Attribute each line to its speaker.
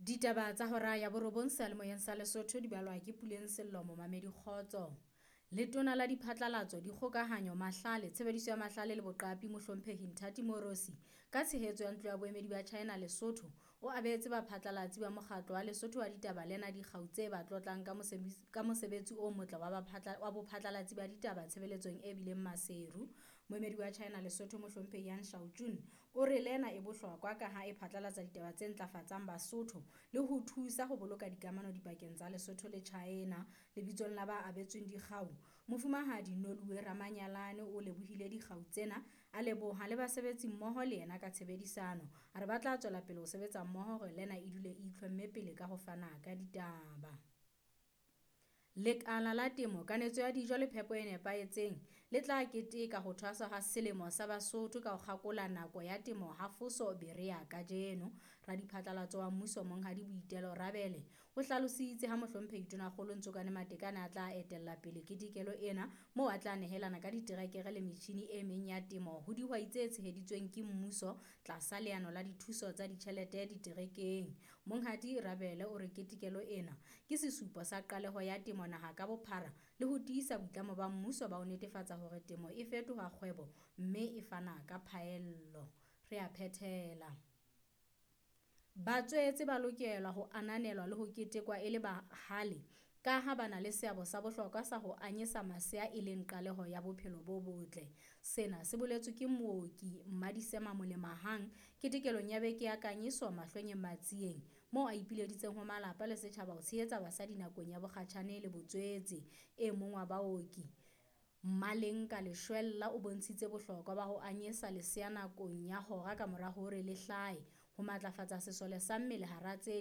Speaker 1: Ditaba tsa hora ya borobong seyalemoyeng sa Lesotho di balwa ke Puleng Sello momamedi kgotso. Letona la Diphatlalatso, Dikgokahanyo, Mahlale, Tshebediso ya Mahlale le Boqapi Mohlomphehi Nthati Moorosi ka tshehetso ya Ntlo ya Boemedi ba China Lesotho o abetse baphatlalatsi ba mokgatlo wa Lesotho wa ditaba lena dikgau tse ba tlotlang ka mosebetsi o motle wa bophatlalatsi ba ditaba tshebeletsong e bileng maseru. Moemedi wa China Lesotho Mohlomphehi Yan Shaojun o re lena e bohlokwa ka ha e phatlalatsa ditaba tse ntlafatsang Basotho le ho thusa ho boloka dikamano dipakeng tsa Lesotho le China. Lebitsong la ba abetsweng dikgau, Mofumahadi Noluwe Ramanyalane o lebohile dikgau tsena, a leboha le basebetsi mmoho le yena ka tshebedisano. A re ba tla tswela pele ho sebetsa mmoho hore lena e dule e itlhomme pele ka ho fana ka ditaba. Lekala la temo, kanetso ya dijo le phepo e nepahetseng le tla keteka ho thwaswa ha selemo sa Basotho ka ho kgakola nako ya temo ha Foso Berea kajeno. Radiphatlalatso wa mmuso Monghadi Boitelo Rabele o hlalositse ha Mohlomphehi Tonakgolo Ntsokane Matekane a tla etella pele ketekelo ena moo a tla nehelana ka diterekere le metjhini e meng ya temo ho dihwai tse tsheheditsweng ke mmuso tlasa leano la dithuso tsa ditjhelete diterekeng. Monghadi Rabele o re ketekelo ena ke sesupo sa qaleho ya temo naha ka bophara le ho tiisa boitlamo ba mmuso ba ho netefatsa hore temo e fetoha kgwebo mme e fana ka phaello. Re a phethela. Batswetse ba lokela ho ananelwa le ho ketekwa e le bahale kaha ba na le seabo sa bohlokwa sa ho anyesa masea e leng qaleho ya bophelo bo botle. Sena se boletswe ke mooki Mmadisema Molemahang ketekelong ya beke ya kanyeso Mahlwenyeng Matsieng moo a ipileditseng ho malapa le setjhaba ho tshehetsa basadi nakong ya bokgatjhane le botswetse. E mong wa baoki Mmalenka Leshwella o bontshitse bohlokwa ba ho anyesa lesea nakong ya hora kamora hore le hlahe ho matlafatsa sesole sa mmele hara tse.